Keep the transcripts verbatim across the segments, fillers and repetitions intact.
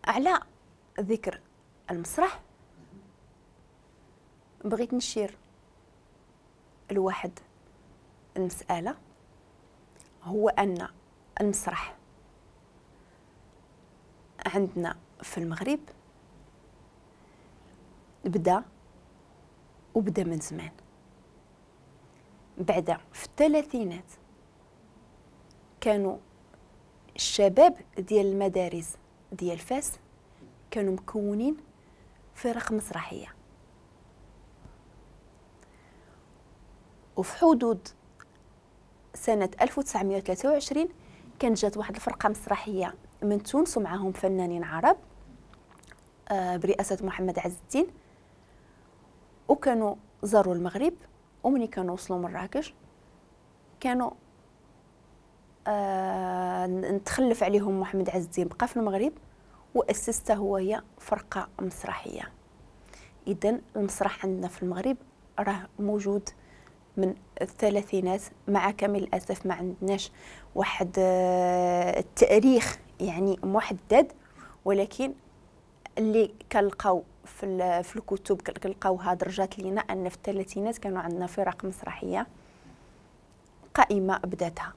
على ذكر المسرح بغيت نشير لواحد المسألة، هو أن المسرح عندنا في المغرب بدا وبدا من زمان، بعد في الثلاثينات كانوا الشباب ديال المدارس ديال فاس كانوا مكونين فرق مسرحية، وفي حدود سنة ألف وتسعمائة وثلاثة وعشرين كانت جات واحد الفرقة مسرحية من تونس ومعهم فنانين عرب برئاسة محمد عز الدين، وكانوا زاروا المغرب. ومني كانوا وصلوا مراكش كانوا آه نتخلف عليهم محمد عز الدين، بقى في المغرب وأسسته هو هي فرقة مسرحية. إذن المسرح عندنا في المغرب راه موجود من الثلاثينات، مع كامل الأسف ما عندناش واحد التاريخ يعني محدد، ولكن اللي كنلقاو في في الكتب كنلقاوها درجات لينا أن في الثلاثينات كانوا عندنا فرق مسرحية قائمة بداتها.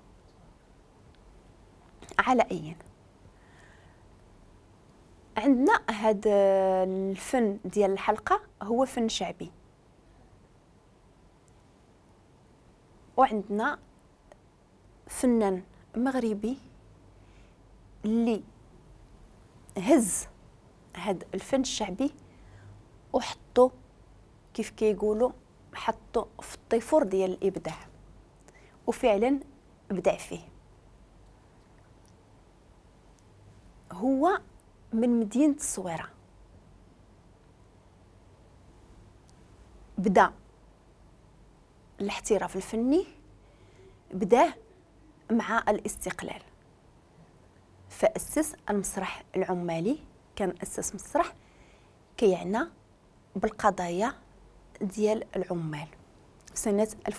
على أي عندنا هذا الفن ديال الحلقة هو فن شعبي، وعندنا فنان مغربي اللي هز هذا الفن الشعبي وحطو كيف كيقولوا حطو في الطيفور ديال الإبداع، وفعلا بدع فيه. هو من مدينة الصويرة، بدا الاحتراف الفني بداه مع الاستقلال، فأسس المسرح العمالي. كان أسس مسرح كيعنى بالقضايا ديال العمال سنة ألف